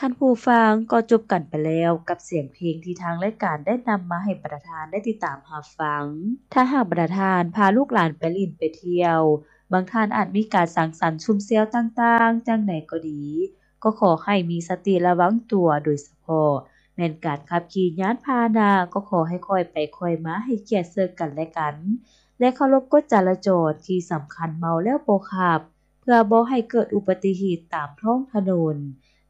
ທ່ານຜູ້ຟັງ ກໍຈົບກັນໄປແລ້ວກັບສຽງເພງທີ່ທາງລາຍການໄດ້ນຳມາໃຫ້ບັນດາທ່ານໄດ້ຕິດຕາມຮັບຟັງ. ຖ້າຫາກບັນດາທ່ານພາລູກຫຼານໄປຫຼິ້ນໄປທ່ຽວ, ບາງທ່ານອາດມີການສັງສັນຊຸມແຊວຕ່າງໆ ຈັ່ງໃດກໍດີ, ກໍຂໍໃຫ້ມີສະຕິລະວັງຕົວ, ໂດຍສະເພາະແມ່ນການຂັບຂີ່ຍານພາຫະນະ ກໍຂໍໃຫ້ຄ່ອຍໄປຄ່ອຍມາ, ໃຫ້ກຽດເຊິ່ງກັນແລະກັນ ແລະ ເຄົາລົບກົດຈະລາຈອນ. ທີ່ສຳຄັນເມົາແລ້ວບໍ່ຂັບ ເພື່ອບໍ່ໃຫ້ເກີດອຸບັດຕິເຫດຕາມທ້ອງຖະໜົນ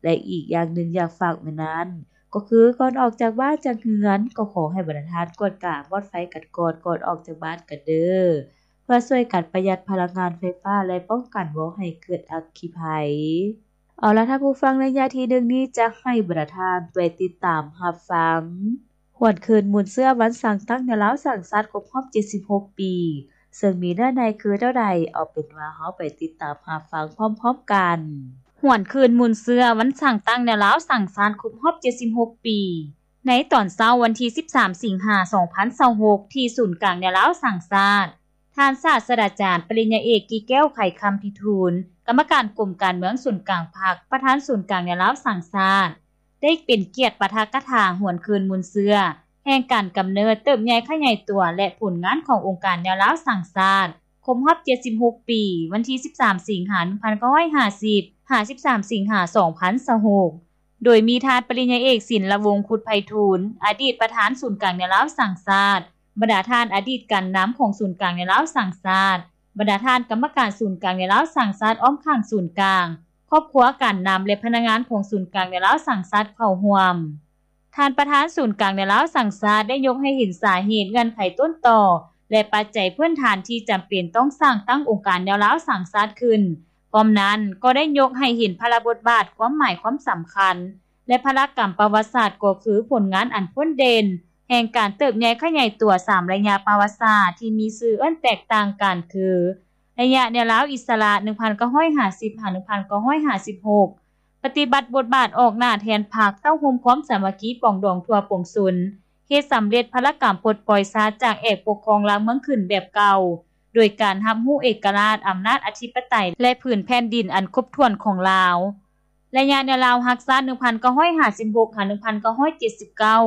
ແລະ ອີກຢ່າງໜຶ່ງຢາກຝາກໄວ້ນັ້ນ ກໍຄືກ່ອນອອກຈາກບ້ານຈາກເຮືອນ ກໍຂໍໃຫ້ບັນດາທ່ານກວດກາມອດໄຟກັນກ່ອນ ກ່ອນອອກຈາກບ້ານກັນເດີ້ ເພື່ອຊ່ວຍກັນປະຢັດພະລັງງານໄຟຟ້າ ແລະ ປ້ອງກັນບໍ່ໃຫ້ເກີດອັກຄີໄພ. ເອົາລະ ທ່ານຜູ້ຟັງ, ໄລຍະທີໜຶ່ງນີ້ຈະໃຫ້ບັນດາທ່ານໄປຕິດຕາມຮັບຟັງ ຫວນຄືນມູນເຊື້ອວັນສ້າງຕັ້ງແນວລາວສ້າງຊາດຄົບຮອບເຈັດສິບຫົກປີ ເຊິ່ງມີເນື້ອໃນຄືແນວໃດ, ເອົາເປັນວ່າເຮົາໄປຕິດຕາມຮັບຟັງພ້ອມໆກັນ. ຫວນຄືນມູນເຊື້ອວັນສ້າງຕັ້ງແນວລາວສ້າງຊາດຄົບຮອບເຈັດສິບຫົກປີ ໃນຕອນເຊົ້າວັນທີສິບສາມ ສິງຫາ ສອງພັນຊາວຫົກ ທີ່ສູນກາງແນວລາວສ້າງຊາດ, ທ່ານສາດສະດາຈານປະລິນຍາເອກ ກີແກ້ວ ໄຂຄຳພິທູນ ກຳມະການກົມການເມືອງສູນກາງພັກ, ປະທານສູນກາງແນວລາວສ້າງຊາດ ໄດ້ເປັນກຽດປາຖະກະຖາຫວນຄືນມູນເຊື້ອແຫ່ງການກຳເນີດ, ເຕີບໃຫຍ່ຂະຫຍາຍຕົວ ແລະ ຜົນງານຂອງອົງການແນວລາວສ້າງຊາດ ຄົບຮອບເຈັດສິບຫົກປີ ວັນທີສິບສາມ ສິງຫາ ໜຶ່ງພັນເກົ້າຮ້ອຍຫ້າສິບ ຫາ ສິບສາມ ສິງຫາ ສອງພັນຊາວຫົກ ໂດຍມີທ່ານປະລິນຍາເອກ ສິນລະວົງ ຄຸດໄພທູນ ອະດີດປະທານສູນກາງແນວລາວສ້າງຊາດ, ບັນດາທ່ານອະດີດການນຳຂອງສູນກາງແນວລາວສ້າງຊາດ, ບັນດາທ່ານກຳມະການສູນກາງແນວລາວສ້າງຊາດອ້ອມຂ້າງສູນກາງ, ຄອບຄົວການນຳ ແລະ ພະນັກງານຂອງສູນກາງແນວລາວສ້າງຊາດເຂົ້າຮ່ວມ. ທ່ານປະທານສູນກາງແນວລາວສ້າງຊາດໄດ້ຍົກໃຫ້ເຫັນສາເຫດ, ເງື່ອນໄຂຕົ້ນຕໍ ແລະ ປັດໄຈພື້ນຖານທີ່ຈຳເປັນຕ້ອງສ້າງຕັ້ງອົງການແນວລາວສ້າງຊາດຂຶ້ນ. ພ້ອມນັ້ນກໍໄດ້ຍົກໃຫ້ເຫັນພາລະບົດບາດ, ຄວາມໝາຍຄວາມສຳຄັນ ແລະ ພາລະກຳປະຫວັດສາດ ກໍຄືຜົນງານອັນພົ້ນເດັ່ນແຫ່ງການເຕີບໃຫຍ່ຂະຫຍາຍຕົວສາມໄລຍະປະຫວັດສາດທີ່ມີຊື່ເອີ້ນແຕກຕ່າງກັນຄື ໄລຍະແນວລາວອິດສະຫຼະ ໜຶ່ງພັນເກົ້າຮ້ອຍຫ້າສິບ ຫາ ໜຶ່ງພັນເກົ້າຮ້ອຍຫ້າສິບຫົກ ປະຕິບັດບົດບາດອອກໜ້າແທນພັກ ເຕົ້າໂຮມຄວາມສາມັກຄີປອງດອງທົ່ວປວງຊົນ, ເຮັດສຳເລັດພາລະກຳປົດປ່ອຍຊາດຈາກແອກປົກຄອງລາວເມືອງຂຶ້ນແບບເກົ່າ ໂດຍການຮັບຮູ້ເອກະລາດ, ອຳນາດອະທິປະໄຕ ແລະ ຜືນແຜ່ນດິນອັນຄົບຖ້ວນຂອງລາວ. ໄລຍະແນວລາວຮັກຊາດ ໜຶ່ງພັນເກົ້າຮ້ອຍຫ້າສິບຫົກ ຫາ ໜຶ່ງພັນເກົ້າຮ້ອຍເຈັດສິບເກົ້າ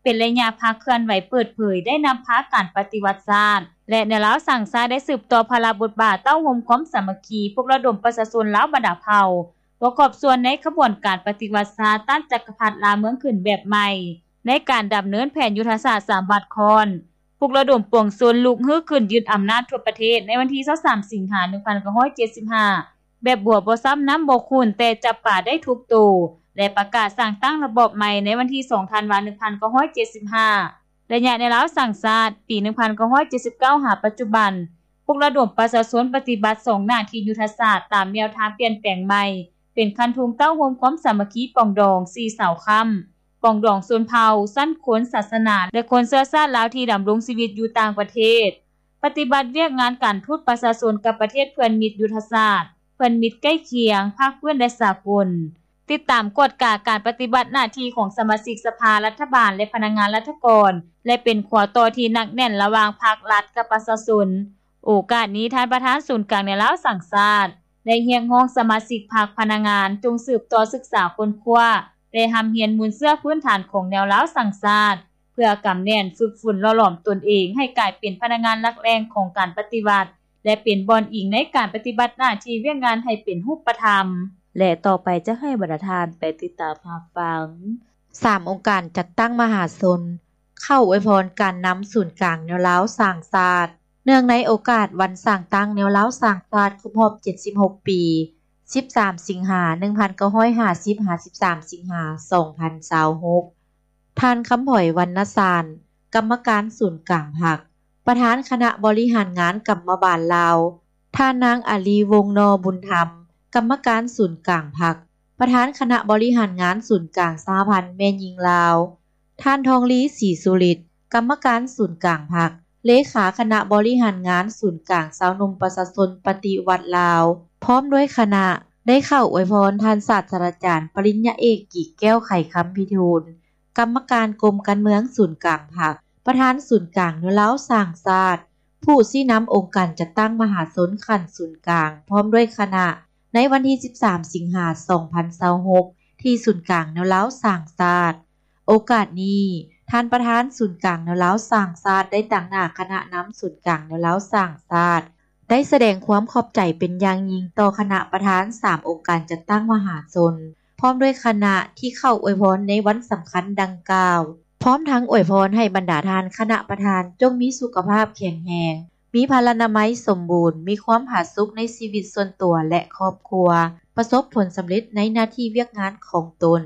ເປັນໄລຍະພັກເຄື່ອນໄຫວເປີດເຜີຍ ໄດ້ນຳພາການປະຕິວັດຊາດ ແລະ ແນວລາວສ້າງຊາດໄດ້ສືບຕໍ່ພາລະບົດບາດ ເຕົ້າໂຮມຄວາມສາມັກຄີ, ປຸກລະດົມປະຊາຊົນລາວບັນດາເຜົ່າ ປະກອບສ່ວນໃນຂະບວນການປະຕິວັດຊາດ ຕ້ານຈັກກະພັດລາວເມືອງຂຶ້ນແບບໃໝ່ ໃນການດຳເນີນແຜນຍຸດທະສາດສາມວັດຄ້ອນ, ປຸກລະດົມປວງຊົນລຸກຮືຂຶ້ນຍຶດອຳນາດທົ່ວປະເທດ ໃນວັນທີຊາວສາມ ສິງຫາ ໜຶ່ງພັນເກົ້າຮ້ອຍເຈັດສິບຫ້າ ແບບບົວບໍ່ຊ້ຳນ້ຳບໍ່ຂຸ້ນ ແຕ່ຈັບປາໄດ້ທຸກໂຕ ແລະ ປະກາດສ້າງຕັ້ງລະບອບໃໝ່ໃນວັນທີສອງ ທັນວາ ໜຶ່ງພັນເກົ້າຮ້ອຍເຈັດສິບຫ້າ. ໄລຍະແນວລາວສ້າງຊາດ ປີ ໜຶ່ງພັນເກົ້າຮ້ອຍເຈັດສິບເກົ້າ ຫາປັດຈຸບັນ, ປຸກລະດົມປະຊາຊົນປະຕິບັດສອງໜ້າທີ່ຍຸດທະສາດຕາມແນວທາງປ່ຽນແປງໃໝ່ ເປັນຄັນທຸງເຕົ້າໂຮມຄວາມສາມັກຄີປອງດອງສີ່ເສົາຄ້ຳ, ປອງດອງຊົນເຜົ່າ, ຊັ້ນຄົນ, ສາສະໜາ ແລະ ຄົນເຊື້ອຊາດລາວທີ່ດຳລົງຊີວິດຢູ່ຕ່າງປະເທດ, ປະຕິບັດວຽກງານການທູດປະຊາຊົນກັບປະເທດເພື່ອນມິດຍຸດທະສາດ, ເພື່ອນມິດໃກ້ຄຽງ, ພາກພື້ນ ແລະ ສາກົນ, ຕິດຕາມກວດກາການປະຕິບັດໜ້າທີ່ຂອງສະມາຊິກສະພາລັດຖະບານ ແລະ ພະນັກງານລັດຖະກອນ ແລະ ເປັນຂົວຕໍ່ທີ່ໜັກແໜ້ນລະຫວ່າງພັກລັດກັບປະຊາຊົນ. ໂອກາດນີ້, ທ່ານປະທານສູນກາງແນວລາວສ້າງຊາດ ໄດ້ຮຽກຮ້ອງສະມາຊິກພັກ, ພະນັກງານ ຈົ່ງສືບຕໍ່ສຶກສາຄົ້ນຄວ້າ ແລະ ຮ່ຳຮຽນມູນເຊື້ອພື້ນຖານຂອງແນວລາວສ້າງຊາດ ເພື່ອກຳແໜ້ນ, ຝຶກຝົນ, ຫຼໍ່ຫຼອມຕົນເອງໃຫ້ກາຍເປັນພະນັກງານຫຼັກແຫຼ່ງຂອງການປະຕິວັດ ແລະ ເປັນບ່ອນອີງໃນການປະຕິບັດໜ້າທີ່ວຽກງານໃຫ້ເປັນຮູບປະທຳ. ແລະ ຕໍ່ໄປຈະໃຫ້ບັນດາທ່ານໄປຕິດຕາມຮັບຟັງ ສາມອົງການຈັດຕັ້ງມະຫາຊົນ ເຂົ້າອວຍພອນການນຳສູນກາງແນວລາວສ້າງຊາດ ເນື່ອງໃນໂອກາດວັນສ້າງຕັ້ງແນວລາວສ້າງຊາດຄົບຮອບເຈັດສິບຫົກປີ ສິບສາມ ສິງຫາ ໜຶ່ງພັນເກົ້າຮ້ອຍຫ້າສິບ ຫາ ສິບສາມ ສິງຫາ ສອງພັນຊາວຫົກ ທ່ານ ຄຳຜອຍ ວັນນະສານ ກຳມະການສູນກາງພັກ, ປະທານຄະນະບໍລິຫານງານກຳມະບານລາວ, ທ່ານນາງ ອາລີ ວົງນໍບຸນທຳ ກຳມະການສູນກາງພັກ, ປະທານຄະນະບໍລິຫານງານສູນກາງສະຫະພັນແມ່ຍິງລາວ, ທ່ານ ທອງລີ ສີສຸລິດ ກຳມະການສູນກາງພັກ, ເລຂາຄະນະບໍລິຫານງານສູນກາງຊາວໜຸ່ມປະຊາຊົນປະຕິວັດລາວ ພ້ອມດ້ວຍຄະນະ ໄດ້ເຂົ້າອວຍພອນທ່ານສາດສະດາຈານປະລິນຍາເອກ ກີແກ້ວ ໄຂຄຳພິທູນ ກຳມະການກົມການເມືອງສູນກາງພັກ, ປະທານສູນກາງແນວລາວສ້າງຊາດ, ຜູ້ຊີ້ນຳອົງການຈັດຕັ້ງມະຫາຊົນຂັ້ນສູນກາງ ພ້ອມດ້ວຍຄະນະ ໃນວັນທີສິບສາມ ສິງຫາ ສອງພັນຊາວຫົກ ທີ່ສູນກາງແນວລາວສ້າງຊາດ. ໂອກາດນີ້, ທ່ານປະທານສູນກາງແນວລາວສ້າງຊາດ ໄດ້ຕາງໜ້າຄະນະນຳສູນກາງແນວລາວສ້າງຊາດ ໄດ້ສະແດງຄວາມຂອບໃຈເປັນຢ່າງຍິ່ງຕໍ່ຄະນະປະທານສາມອົງການຈັດຕັ້ງມະຫາຊົນ ພ້ອມດ້ວຍຄະນະທີ່ເຂົ້າອວຍພອນໃນວັນສຳຄັນດັ່ງກ່າວ, ພ້ອມທັງອວຍພອນໃຫ້ບັນດາທ່ານຄະນະປະທານຈົ່ງມີສຸຂະພາບແຂງແຮງ, ມີພະລານາໄມສົມບູນ, ມີຄວາມຜາສຸກໃນຊີວິດສ່ວນຕົວ ແລະ ຄອບຄົວ, ປະສົບຜົນສຳເລັດໃນໜ້າທີ່ວຽກງານຂອງຕົນ.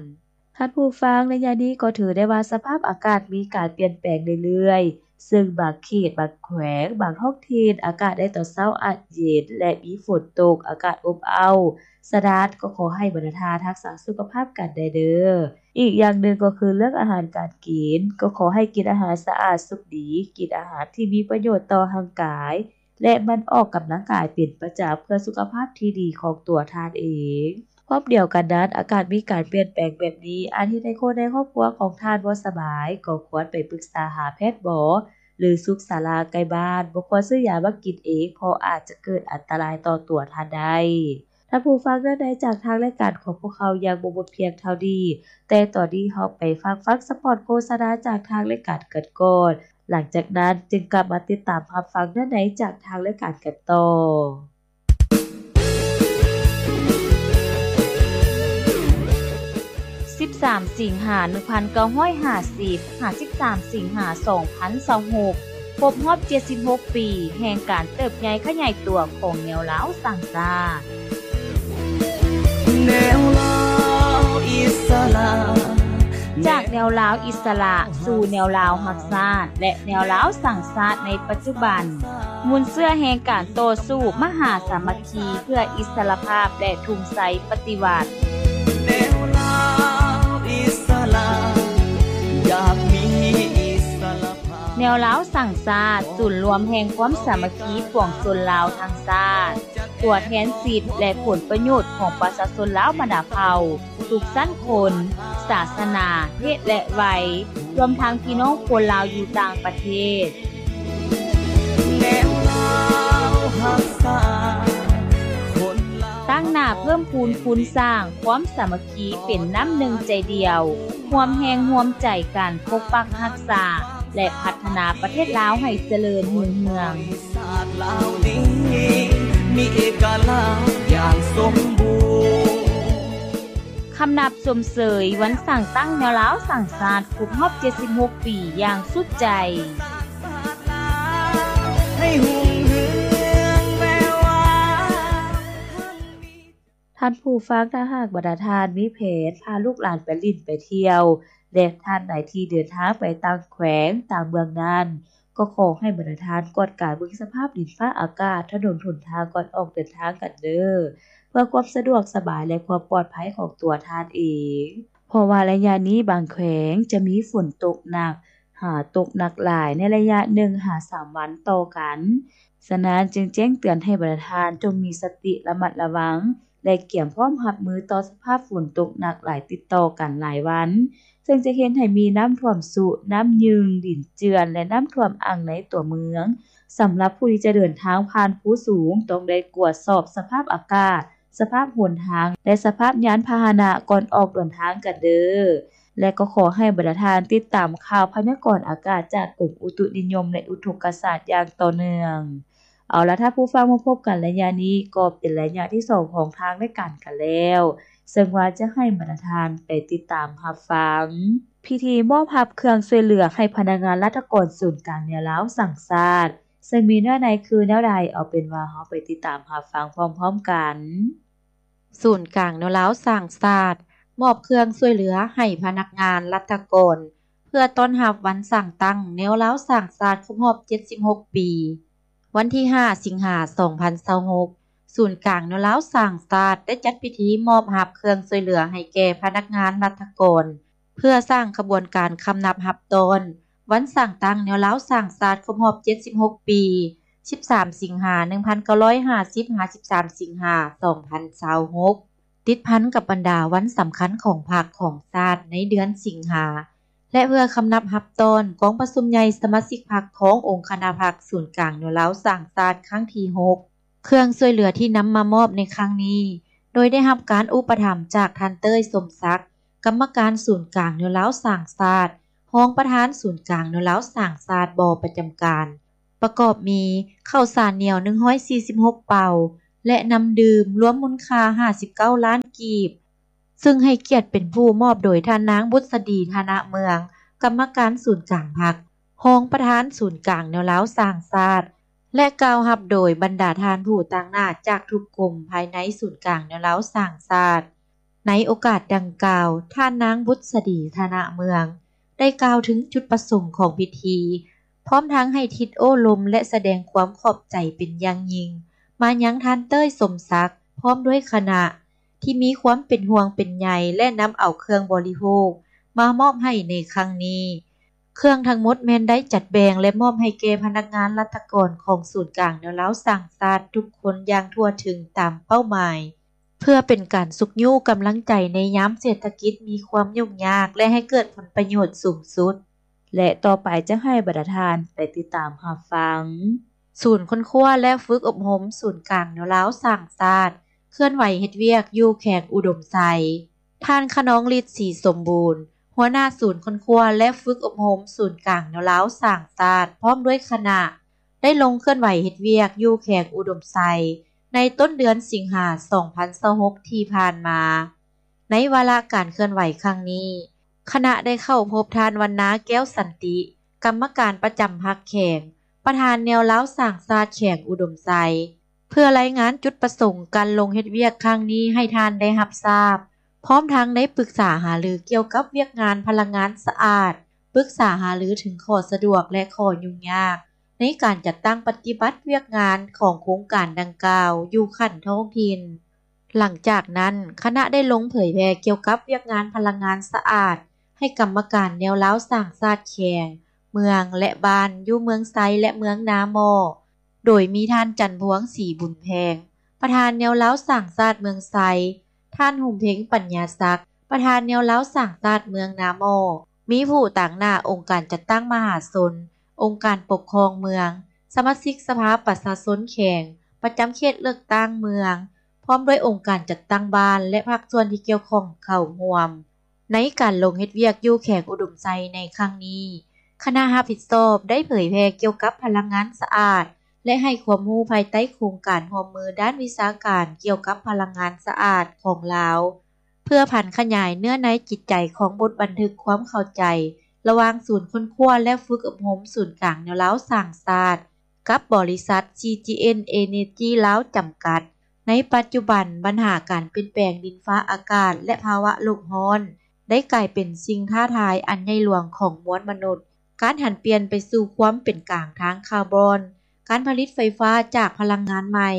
ທ່ານຜູ້ຟັງ, ໄລຍະນີ້ກໍຖືໄດ້ວ່າສະພາບອາກາດມີການປ່ຽນແປງເລື້ອຍໆ, ເຊິ່ງບາງເຂດ, ບາງແຂວງ, ບາງທ້ອງຖິ່ນ ອາກາດໃນຕອນເຊົ້າອາດເຢັນ ແລະ ມີຝົນຕົກ, ອາກາດອົບອ້າວ. ສະນັ້ນ, ກໍຂໍໃຫ້ບັນດາທ່ານຮັກສາສຸຂະພາບກັນແດ່ເດີ້. ອີກຢ່າງໜຶ່ງກໍຄືເລື່ອງອາຫານການກິນ, ກໍຂໍໃຫ້ກິນອາຫານສະອາດສຸກດີ, ກິນອາຫານທີ່ມີປະໂຫຍດຕໍ່ຮ່າງກາຍ ແລະ ໝັ່ນອອກກຳລັງກາຍເປັນປະຈຳ ເພື່ອສຸຂະພາບທີ່ດີຂອງຕົວທ່ານເອງ. ພ້ອມດຽວກັນນັ້ນ, ອາກາດມີການປ່ຽນແປງແບບນີ້ ອາດເຮັດໃຫ້ຄົນໃນຄອບຄົວຂອງທ່ານບໍ່ສະບາຍ, ກໍຄວນໄປປຶກສາຫາແພດໝໍ ຫຼື ສຸກສາລາໃກ້ບ້ານ. ບໍ່ຄວນຊື້ຢາມາກິນເອງ, ເພາະອາດຈະເກີດອັນຕະລາຍຕໍ່ຕົວທ່ານໄດ້. ທ່ານຜູ້ຟັງ, ເນື້ອໃນຈາກທາງລາຍການຂອງພວກເຮົາຍັງບໍ່ໝົດພຽງເທົ່ານີ້, ແຕ່ຕອນນີ້ເຮົາໄປຟັງຟັງສະປອດໂຄສະນາຈາກທາງລາຍການກັນກ່ອນ. ຫຼັງຈາກນັ້ນຈຶ່ງກັບມາຕິດຕາມຮັບຟັງເນື້ອໃນຈາກທາງລາຍການກັນຕໍ່. ສິບສາມ ສິງຫາ ໜຶ່ງພັນເກົ້າຮ້ອຍຫ້າສິບ ຫາ ສິບສາມ ສິງຫາ ສອງພັນຊາວຫົກ ຄົບຮອບເຈັດສິບຫົກປີແຫ່ງການເຕີບໃຫຍ່ຂະຫຍາຍຕົວຂອງແນວລາວສ້າງຊາດ. ແນວລາວອິດສະຫຼະ ຈາກແນວລາວອິດສະຫຼະສູ່ແນວລາວຮັກຊາດ ແລະ ແນວລາວສ້າງຊາດໃນປັດຈຸບັນ, ມູນເຊື້ອແຫ່ງການຕໍ່ສູ້ມະຫາສາມັກຄີເພື່ອອິດສະຫຼະພາບ ແລະ ທຸງໄຊປະຕິວັດ. ແນວລາວອິດສະຫຼະ ຢາກມີອິດສະຫຼະພາບ. ແນວລາວສ້າງຊາດ ສູນລວມແຫ່ງຄວາມສາມັກຄີປວງຊົນລາວທັງຊາດ, ຕົວແທນສິດ ແລະ ຜົນປະໂຫຍດຂອງປະຊາຊົນລາວບັນດາເຜົ່າ ທຸກຊັ້ນຄົນ, ສາສະໜາ, ເພດ ແລະ ໄວ, ລວມທັງພີ່ນ້ອງຄົນລາວຢູ່ຕ່າງປະເທດ. ແນວລາວຮັກຊາດ ຄົນລາວ ຕັ້ງໜ້າເພີ່ມພູນຄູນສ້າງຄວາມສາມັກຄີເປັນນ້ຳໜຶ່ງໃຈດຽວ, ຮ່ວມແຮງຮ່ວມໃຈກັນປົກປັກຮັກສາ ແລະ ພັດທະນາປະເທດລາວໃຫ້ຈະເລີນຮຸ່ງເຮືອງ. ຊາດລາວນີ້ມີເອກະລາດຢ່າງສົມບູນ. ຄຳນັບຊົມເຊີຍວັນສ້າງຕັ້ງແນວລາວສ້າງຊາດຄົບຮອບເຈັດສິບຫົກປີຢ່າງສຸດໃຈ. ທ່ານຜູ້ຟັງ, ຖ້າຫາກບັນດາທ່ານມີແຜນພາລູກຫຼານໄປຫຼິ້ນໄປທ່ຽວ ແລະ ທ່ານໃດທີ່ເດີນທາງໄປຕ່າງແຂວງຕ່າງເມືອງນັ້ນ, ກໍຂໍໃຫ້ບັນດາທ່ານກວດກາເບິ່ງສະພາບດິນຟ້າອາກາດ, ຖະໜົນຫົນທາງກ່ອນອອກເດີນທາງກັນເດີ້ ເພື່ອຄວາມສະດວກສະບາຍ ແລະ ຄວາມປອດໄພຂອງຕົວທ່ານເອງ. ເພາະວ່າໄລຍະນີ້ບາງແຂວງຈະມີຝົນຕົກໜັກ ຫາຕົກໜັກຫຼາຍໃນໄລຍະໜຶ່ງຫາສາມວັນຕໍ່ກັນ. ສະນັ້ນຈຶ່ງແຈ້ງເຕືອນໃຫ້ບັນດາທ່ານຈົ່ງມີສະຕິລະມັດລະວັງ ແລະ ກຽມພ້ອມຮັບມືຕໍ່ສະພາບຝົນຕົກໜັກຫຼາຍຕິດຕໍ່ກັນຫຼາຍວັນ, ເຊິ່ງຈະເຮັດໃຫ້ມີນ້ຳຖ້ວມຊຸ, ນ້ຳຍື່ງ, ດິນເຈື່ອນ ແລະ ນ້ຳຖ້ວມອັ່ງໃນຕົວເມືອງ. ສຳລັບຜູ້ທີ່ຈະເດີນທາງຜ່ານພູສູງ, ຕ້ອງໄດ້ກວດສອບສະພາບອາກາດ, ສະພາບຫົນທາງ ແລະ ສະພາບຍານພາຫະນະກ່ອນອອກເດີນທາງກັນເດີ້ ແລະ ກໍຂໍໃຫ້ບັນດາທ່ານຕິດຕາມຂ່າວພະຍາກອນອາກາດຈາກກົມອຸຕຸນິຍົມ ແລະ ອຸທົກກະສາດຢ່າງຕໍ່ເນື່ອງ. ເອົາລະ ທ່ານຜູ້ຟັງ, ມາພົບກັນໄລຍະນີ້ກໍເປັນໄລຍະທີສອງຂອງທາງລາຍການກັນແລ້ວ, ເຊິ່ງວ່າຈະໃຫ້ບັນດາທ່ານໄປຕິດຕາມຮັບຟັງ ພິທີມອບຮັບເຄື່ອງຊ່ວຍເຫຼືອໃຫ້ພະນັກງານລັດຖະກອນສູນກາງແນວລາວສ້າງຊາດ ເຊິ່ງມີເນື້ອໃນຄືແນວໃດ, ເອົາເປັນວ່າເຮົາໄປຕິດຕາມຮັບຟັງພ້ອມໆກັນ. ສູນກາງແນວລາວສ້າງຊາດ ມອບເຄື່ອງຊ່ວຍເຫຼືອໃຫ້ພະນັກງານລັດຖະກອນ ເພື່ອຕ້ອນຮັບວັນສ້າງຕັ້ງແນວລາວສ້າງຊາດຄົບຮອບເຈັດສິບຫົກປີ. ວັນທີຫ້າ ສິງຫາ ສອງພັນຊາວຫົກ ສູນກາງແນວລາວສ້າງຊາດ ໄດ້ຈັດພິທີມອບຮັບເຄື່ອງຊ່ວຍເຫຼືອໃຫ້ແກ່ພະນັກງານລັດຖະກອນ ເພື່ອສ້າງຂະບວນການຄຳນັບຮັບຕ້ອນວັນສ້າງຕັ້ງແນວລາວສ້າງຊາດຄົບຮອບເຈັດສິບຫົກປີ ສິບສາມ ສິງຫາ ໜຶ່ງພັນເກົ້າຮ້ອຍຫ້າສິບ ຫາ ສິບສາມ ສິງຫາ ສອງພັນຊາວຫົກ ຕິດພັນກັບບັນດາວັນສຳຄັນຂອງພັກຂອງຊາດໃນເດືອນສິງຫາ ແລະ ເພື່ອຄຳນັບຮັບຕ້ອນກອງປະຊຸມໃຫຍ່ສະມາຊິກພັກຂອງອົງຄະນະພັກສູນກາງແນວລາວສ້າງຊາດຄັ້ງທີຫົກ. ເຄື່ອງຊ່ວຍເຫຼືອທີ່ນຳມາມອບໃນຄັ້ງນີ້ ໂດຍໄດ້ຮັບການອຸປະຖຳຈາກທ່ານ ເຕີຍ ສົມສັກ, ກຳມະການສູນກາງແນວລາວສ້າງຊາດ, ຮອງປະທານສູນກາງແນວລາວສ້າງຊາດບໍ່ປະຈຳການ, ປະກອບມີ ເຂົ້າສານໜຽວ ໜຶ່ງຮ້ອຍສີ່ສິບຫົກເປົາ ແລະ ນ້ຳດື່ມ ລວມມູນຄ່າ ຫ້າສິບເກົ້າລ້ານກີບ, ຊຶ່ງໃຫ້ກຽດເປັນຜູ້ມອບໂດຍທ່ານນາງ ບຸດສະດີ ທະນະເມືອງ, ກຳມະການສູນກາງພັກ, ຮອງປະທານສູນກາງແນວລາວສ້າງຊາດ ແລະ ກ່າວຮັບໂດຍບັນດາທ່ານຜູ້ຕາງໜ້າຈາກທຸກກົມພາຍໃນສູນກາງແນວລາວສ້າງຊາດ. ໃນໂອກາດດັ່ງກ່າວ, ທ່ານນາງ ບຸດສະດີ ທະນະເມືອງ ໄດ້ກ່າວເຖິງຈຸດປະສົງຂອງພິທີ, ພ້ອມທັງໃຫ້ທິດໂອ້ລົມ ແລະ ສະແດງຄວາມຂອບໃຈເປັນຢ່າງຍິ່ງ ມາຍັງທ່ານ ເຕີຍ ສົມສັກ ພ້ອມດ້ວຍຄະນະ ທີ່ມີຄວາມເປັນຫ່ວງເປັນໃຍ ແລະ ນຳເອົາເຄື່ອງບໍລິໂພກມາມອບໃຫ້ໃນຄັ້ງນີ້. ເຄື່ອງທັງໝົດແມ່ນໄດ້ຈັດແບ່ງ ແລະ ມອບໃຫ້ແກ່ພະນັກງານລັດຖະກອນຂອງສູນກາງແນວລາວສ້າງຊາດທຸກຄົນຢ່າງທົ່ວເຖິງຕາມເປົ້າໝາຍ, ເພື່ອເປັນການຊຸກຍູ້ກຳລັງໃຈໃນຍາມເສດຖະກິດມີຄວາມຫຍຸ້ງຍາກ ແລະ ໃຫ້ເກີດຜົນປະໂຫຍດສູງສຸດ. ແລະ ຕໍ່ໄປຈະໃຫ້ບັນດາທ່ານໄປຕິດຕາມຮັບຟັງ ສູນຄົ້ນຄວ້າ ແລະ ຝຶກອົບຮົມສູນກາງແນວລາວສ້າງຊາດ ເຄື່ອນໄຫວເຮັດວຽກຢູ່ແຂວງອຸດົມໄຊ. ທ່ານ ຂະນອງລິດ ສີສົມບູນ ຫົວໜ້າສູນຄົ້ນຄວ້າ ແລະ ຝຶກອົບຮົມສູນກາງແນວລາວສ້າງຊາດ ພ້ອມດ້ວຍຄະນະ ໄດ້ລົງເຄື່ອນໄຫວເຮັດວຽກຢູ່ແຂວງອຸດົມໄຊ ໃນຕົ້ນເດືອນສິງຫາ ສອງພັນຊາວຫົກ ທີ່ຜ່ານມາ. ໃນວາລະການເຄື່ອນໄຫວຄັ້ງນີ້, ຄະນະໄດ້ເຂົ້າພົບທ່ານ ວັນນາ ແກ້ວສັນຕິ ກຳມະການປະຈຳພັກແຂວງ, ປະທານແນວລາວສ້າງຊາດແຂວງອຸດົມໄຊ ເພື່ອລາຍງານຈຸດປະສົງການລົງເຮັດວຽກຄັ້ງນີ້ໃຫ້ທ່ານໄດ້ຮັບຊາບ, ພ້ອມທັງໄດ້ປຶກສາຫາລືກ່ຽວກັບວຽກງານພະລັງງານສະອາດ, ປຶກສາຫາລືເຖິງຂໍ້ສະດວກ ແລະ ຂໍ້ຫຍຸ້ງຍາກໃນການຈັດຕັ້ງປະຕິບັດວຽກງານຂອງໂຄງການດັ່ງກ່າວຢູ່ຂັ້ນທ້ອງຖິ່ນ. ຫຼັງຈາກນັ້ນ, ຄະນະໄດ້ລົງເຜີຍແຜ່ກ່ຽວກັບວຽກງານພະລັງງານສະອາດໃຫ້ກຳມະການແນວລາວສ້າງຊາດແຂວງ, ເມືອງ ແລະ ບ້ານຢູ່ເມືອງໄຊ ແລະ ເມືອງນາໝໍ້. ໂດຍມີທ່ານ ຈັນພວງ ສີບຸນແພງ ປະທານແນວລາວສ້າງຊາດເມືອງໄຊ, ທ່ານ ຫຸມເພັງ ປັນຍາສັກ ປະທານແນວລາວສ້າງຊາດເມືອງນາໝໍ້, ມີຜູ້ຕາງໜ້າອົງການຈັດຕັ້ງມະຫາຊົນ, ອົງການປົກຄອງເມືອງ, ສະມາຊິກສະພາປະຊາຊົນແຂວງ ປະຈຳເຂດເລືອກຕັ້ງເມືອງ, ພ້ອມດ້ວຍອົງການຈັດຕັ້ງບ້ານ ແລະ ພາກສ່ວນທີ່ກ່ຽວຂ້ອງເຂົ້າຮ່ວມ. ໃນການລົງເຮັດວຽກຢູ່ແຂວງອຸດົມໄຊໃນຄັ້ງນີ້, ຄະນະຮັບຜິດຊອບໄດ້ເຜີຍແຜ່ກ່ຽວກັບພະລັງງານສະອາດ ແລະ ໃຫ້ຄວາມຮູ້ພາຍໃຕ້ໂຄງການຮ່ວມມືດ້ານວິຊາການກ່ຽວກັບພະລັງງານສະອາດຂອງລາວ, ເພື່ອຜັນຂະຫຍາຍເນື້ອໃນຈິດໃຈຂອງບົດບັນທຶກຄວາມເຂົ້າໃຈລະຫວ່າງສູນຄົ້ນຄວ້າ ແລະ ຝຶກອົບຮົມສູນກາງແນວລາວສ້າງຊາດ ກັບບໍລິສັດ ຊີຈີເອັນ ເອເນຈີ ລາວ ຈຳກັດ. ໃນປັດຈຸບັນ, ບັນຫາການປ່ຽນແປງດິນຟ້າອາກາດ ແລະ ພາວະໂລກຮ້ອນ ໄດ້ກາຍເປັນສິ່ງທ້າທາຍອັນໃຫຍ່ຫຼວງຂອງມວນມະນຸດ. ການຫັນປ່ຽນໄປສູ່ຄວາມເປັນກາງທາງຄາບອນ, ການຜະລິດໄຟຟ້າຈາກພະລັງງານໃໝ່,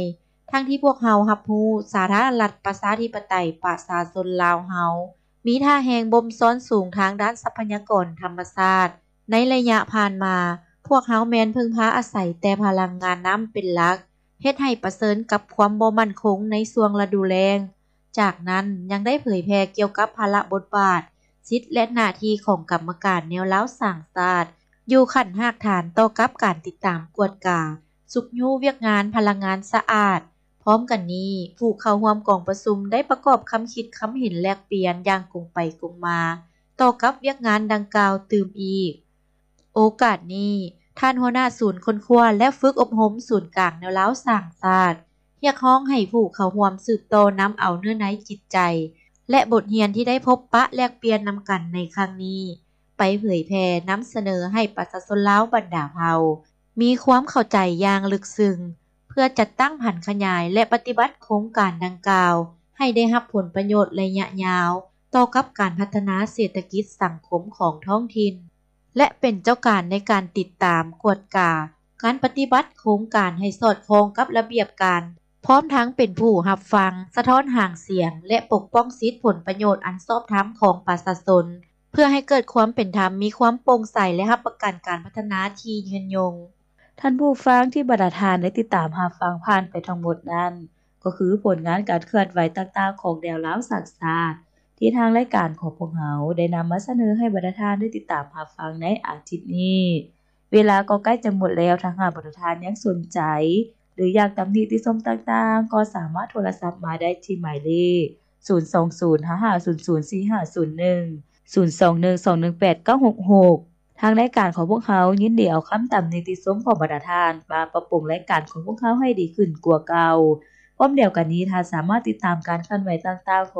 ທັງທີ່ພວກເຮົາຮັບຮູ້ ສາທາລະນະລັດປະຊາທິປະໄຕປະຊາຊົນລາວເຮົາ ມີທ່າແຮງບົ່ມຊ້ອນສູງທາງດ້ານຊັບພະຍາກອນທຳມະຊາດ. ໃນໄລຍະຜ່ານມາ, ພວກເຮົາແມ່ນເພິ່ງພາອາໄສແຕ່ພະລັງງານນ້ຳເປັນຫຼັກ, ເຮັດໃຫ້ປະເຊີນກັບຄວາມບໍ່ໝັ້ນຄົງໃນຊ່ວງລະດູແລ້ງ. ຈາກນັ້ນຍັງໄດ້ເຜີຍແຜ່ກ່ຽວກັບພາລະບົດບາດ, ສິດ ແລະ ໜ້າທີ່ຂອງກຳມະການແນວລາວສ້າງຊາດ ຢູ່ຂັ້ນຮາກຖານຕໍ່ກັບການຕິດຕາມກວດກາ, ຊຸກຍູ້ວຽກງານພະລັງງານສະອາດ. ພ້ອມກັນນີ້, ຜູ້ເຂົ້າຮ່ວມກອງປະຊຸມໄດ້ປະກອບຄຳຄິດຄຳເຫັນແລກປ່ຽນຢ່າງກົງໄປກົງມາຕໍ່ກັບວຽກງານດັ່ງກ່າວຕື່ມອີກ. ໂອກາດນີ້, ທ່ານຫົວໜ້າສູນຄົ້ນຄວ້າ ແລະ ຝຶກອົບຮົມສູນກາງແນວລາວສ້າງຊາດ ຮຽກຮ້ອງໃຫ້ຜູ້ເຂົ້າຮ່ວມສືບຕໍ່ນຳເອົາເນື້ອໃນຈິດໃຈ ແລະ ບົດຮຽນທີ່ໄດ້ພົບປະແລກປ່ຽນນຳກັນໃນຄັ້ງນີ້ ໄປເຜີຍແຜ່ນຳສະເໜີໃຫ້ປະຊາຊົນລາວບັນດາເຜົ່າ ມີຄວາມເຂົ້າໃຈຢ່າງເລິກເຊິ່ງ ເພື່ອຈັດຕັ້ງຜັນຂະຫຍາຍ ແລະ ປະຕິບັດໂຄງການດັ່ງກ່າວ ໃຫ້ໄດ້ຮັບຜົນປະໂຫຍດໄລຍະຍາວ ຕໍ່ກັບການພັດທະນາເສດຖະກິດສັງຄົມຂອງທ້ອງຖິ່ນ ແລະ ເປັນເຈົ້າການໃນການຕິດຕາມ, ກວດກາ ການປະຕິບັດໂຄງການໃຫ້ສອດຄ່ອງກັບລະບຽບການ, ພ້ອມທັງເປັນຜູ້ຮັບຟັງ, ສະທ້ອນຫາງສຽງ ແລະ ປົກປ້ອງສິດຜົນປະໂຫຍດອັນຊອບທຳຂອງປະຊາຊົນ ເພື່ອໃຫ້ເກີດຄວາມເປັນທຳ, ມີຄວາມໂປ່ງໃສ ແລະ ຮັບປະກັນການພັດທະນາທີ່ຍືນຍົງ. ທ່ານຜູ້ຟັງທີ່ບັນດາທ່ານໄດ້ຕິດຕາມຮັບຟັງຜ່ານໄປທັງໝົດນັ້ນ, ກໍຄືຜົນງານການເຄື່ອນໄຫວຕ່າງໆຂອງແນວລາວສ້າງຊາດ ທີ່ທາງລາຍການຂອງພວກເຮົາໄດ້ນຳມາສະເໜີໃຫ້ບັນດາທ່ານໄດ້ຕິດຕາມຮັບຟັງໃນອາທິດນີ້. ເວລາກໍໃກ້ຈະໝົດແລ້ວ, ຖ້າຫາກບັນດາທ່ານຍັງສົນໃຈ ຫຼື ຢາກຕຳນິຕິຊົມຕ່າງໆ ກໍສາມາດໂທລະສັບມາໄດ້ທີ່ໝາຍເລກ ສູນສອງສູນ ຫ້າຫ້າສູນສູນ ສີ່ຫ້າສູນໜຶ່ງ ສູນສອງໜຶ່ງ ສອງໜຶ່ງແປດ ເກົ້າຫົກຫົກ. ທາງລາຍການຂອງພວກເຮົາຍິນດີເອົາຄຳຕຳນິຕິຊົມຂອງບັນດາທ່ານ ມາປັບປຸງລາຍການຂອງພວກເຮົາໃຫ້ດີຂຶ້ນກວ່າເກົ່າ. ພ້ອມດຽວກັນນີ້, ທ່ານສາມາດຕິດຕາມການເຄື່ອນໄຫວຕ່າງໆຂອງ